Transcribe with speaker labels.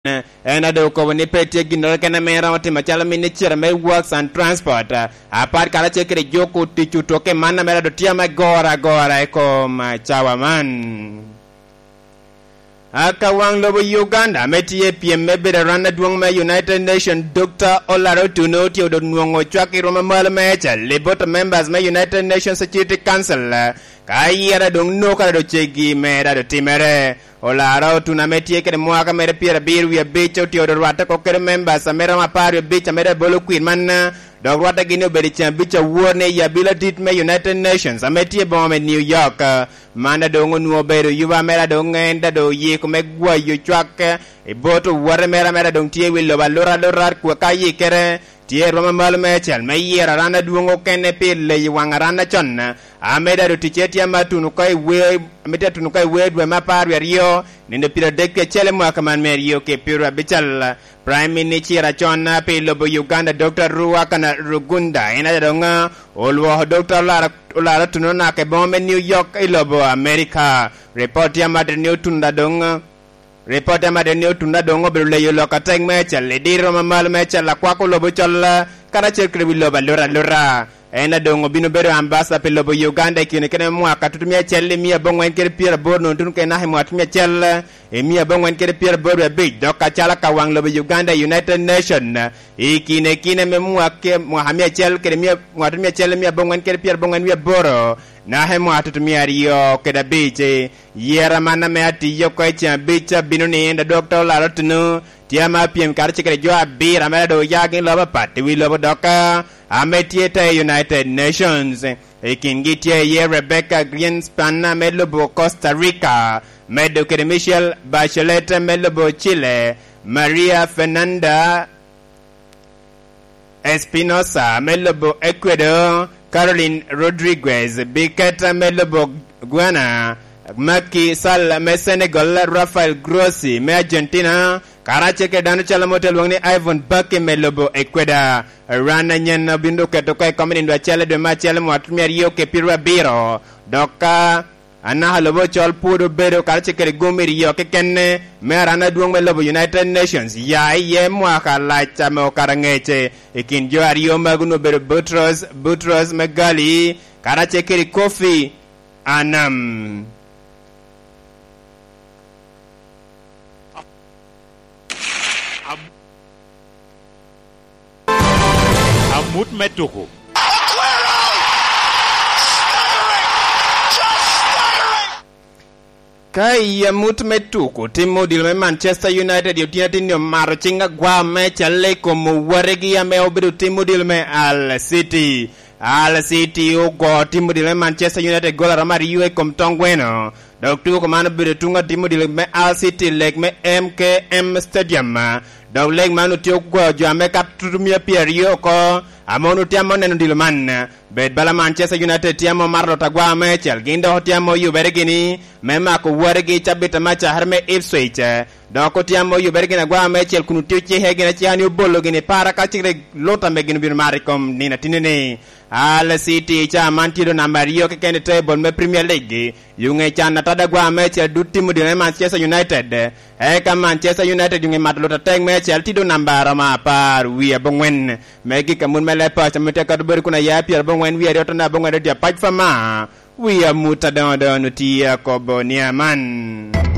Speaker 1: En adong okobo ni pe tye gin keken ma en romo timo macalo minicita me Works and Transport apart karacel kede juko tic otoke man mere adong tye me goro agora i kom cawa man. Ka wang lobo Uganda me tye i pyem me bedo aran adwong me United Nations Dokta Olara Otuno tye odong nwongo cwak i rwom mamalo me cal i bot members me United Nations Security Council ka yero adong noko adong cegi mere adong timere. Olara Otuna me tye kede mwaka mere pyerabiro wiye abic otye odo rwatte ko kede members ame romo 15 ame dong ebolo kwir man dok rwatte gi ni obedo i ceng abic awor ni i abila dit me United Nations ame tye i boma me New York. Man dong onwongo obedo yuba mere dong en dong oyiko me gwayo cwak i bot owote mere ame dong tye i wi lobo aluta aluta ka yikere tye i rwom mamalo me cal me yero aran adwong okene pi leyo wang aran acon. Amedo ado ticce tye ma atuno ka i wer, ame tye atuno ka i wer dwe me 12, nindo 31 i mwaka man me aryo ki piero abical. Prime Minicira con pi lobo Uganda Dokta Ruhakana Rugunda en aye dong olwoko Dokta Olara Olara Otuno naka i boma me New York i lobo Amerika. Ripot tye amadit ni Otunda dong Ripot tye amadit ni Otunda dong obedo leyo lok atek me cal i diro ma malo me cal akwako lobo col karacel kwede wi lobo aluta aluta. En adong obino bedo ambasada pi lobo Uganda i kine kene me mwaka 1980 nongo tun kene naka i mwaka 1985 dok acalo ka wang lobo Uganda i United Nation i kine kine me mwaka 1988 naka i mwaka 2005. Yera man ame atiyo oko i ceng abic abino ni Dokta Olara Otunu tye ma apyem kacel kede jo abiro ame dong oya gin lobo apat i wi lobo dok ame tye te i United Nations. I kingi tye iye Rebecca Grynspan me lobo Costa Rica, medo kede Michelle Bachelet me lobo Chile, Maria Fernanda Espinosa me lobo Ecuador, Caroline Rodriguez Biquet me lobo Guyana, Macky Sall me Senegal, Rafael Grossi me Argentina, karacel kede dano cal mo te lwongo ni Ivon Bucky me lobo Ecuador. Rana nyen obino oketo oko i kom i nindo acel i dwe me acel mwaka 2070 dok ka anaka lobo ocol pwod obedo karacel kede gum iryo keken me arana adwong me lobo United Nations ya iye mwaka lac me okato angec. I kin jo aryo magi onongo obedo Boutros Boutros Megali karacel kede Kofi Annan.
Speaker 2: Amut me tuku.
Speaker 1: Ka i amut me tuku, tim odilo me Manchester United i otyeno atin-ni omato cing agwar me calle i kom owaregi ame obedo tim odilo me Hull City. Hull City ogo tim odilo me Manchester United gol aromo aryo i kom tong gweno dok tuku man obedo tung atim odilo me Hull City lek me MKM Stadium. Dok lek man otye goyo jo ame kato tutumia 20 oko. Amon otye ame oneno odilo man. Bed bala Manchester United tye ame omato lot agwar me cal gin dok otye ame oyubere gini me mako wargi i cabit me acakere me Ipswich. Dok otye ame oyubere gini agwar me cel kun otye ocihe gin aciha ni obolo gini para ka cikre lut ame gin obino mato i kom nino atine ni. Hull City i caa man tye do namba aryo keken i table me Premier League. Yunge can atada agwar me cel dud tim odilo me Manchester United. Eka Manchester United yunge mato lut atek me acel tye do namba romo 19 me gik amut me leb paco ma tye kato bedo kun aya 92 otonde abongwen radio apac fa ma wi amut adongo dongo tye akobo nia man.